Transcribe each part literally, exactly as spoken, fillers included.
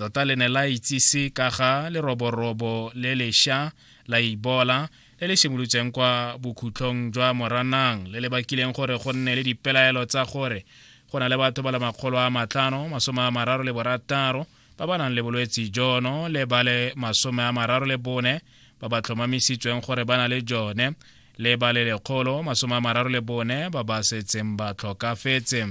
Tota le ne la itsise ka ga leroborobo le lešwa la Ebola le le simolotseng kwa bokhutlong jwa Moranang, le le bakileng gore go nne le dipelaelo tsa gore go na le batho ba le makgolo a matlhano masome a mararo le borataro ba ba nang le bolwetsi jono le ba le masome a mararo le bone ba ba tlhomamisitsweng gore ba na le jone, le ba le lekgolo masome a mararo le bone ba ba setseng ba tlhokafetse.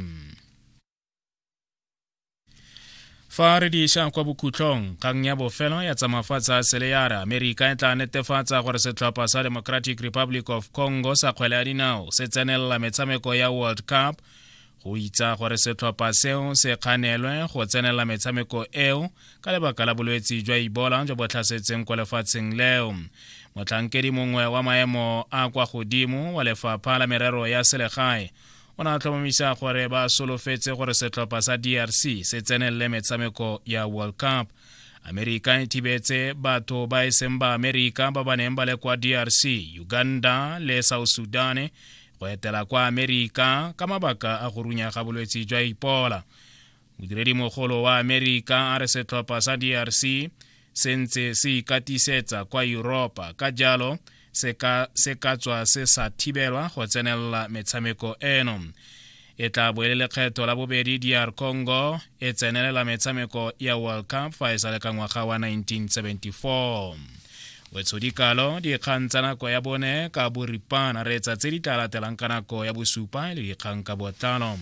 Fa re di isa kwa bokhutlong, kgang ya bofelo ya tsa mafatshe a sele ya re Amerika e tla netefatsa gore setlhopha sa Democratic Republic of Congo sa kgwele ya dinao se tsenelela metshameko ya World Cup, go itsa gore setlhopha seo se kganelwe go tsenelela metshameko eo ka lebaka la bolwetsi jwa Ebola jo bo tlhasetseng kwa lefatsheng leo. Motlhankedi mongwe wa maemo a kwa godimo wa lefapha la merero ya selegae o ne a tlhomamisa gore ba solofetse gore setlhopha sa D R C se tsenelele metshameko ya World Cup. Amerika e thibetse batho ba e seng ba Amerika ba ba neng ba le kwa D R C, Uganda le South Sudan go etela kwa Amerika ka mabaka a go runya ga bolwetsi jwa Ebola. Modiredimogolo wa Amerika a re setlhopha sa D R C se ntse se ikatisetsa kwa Europa, ka jalo se ka se ka tswa se sa thibelwa go tsenelela metshameko eno. E tla bo e le lekgetho la bobedi D R Congo e tsenelela metshameko ya World Cup fa e sa le ka ngwaga wa nineteen seventy-four. Wetshodikalo dikgang tsa nako ya bone ka boripana, re etsa tse di tla latelang ka nako ya bosupa le dikgang ka botlalo.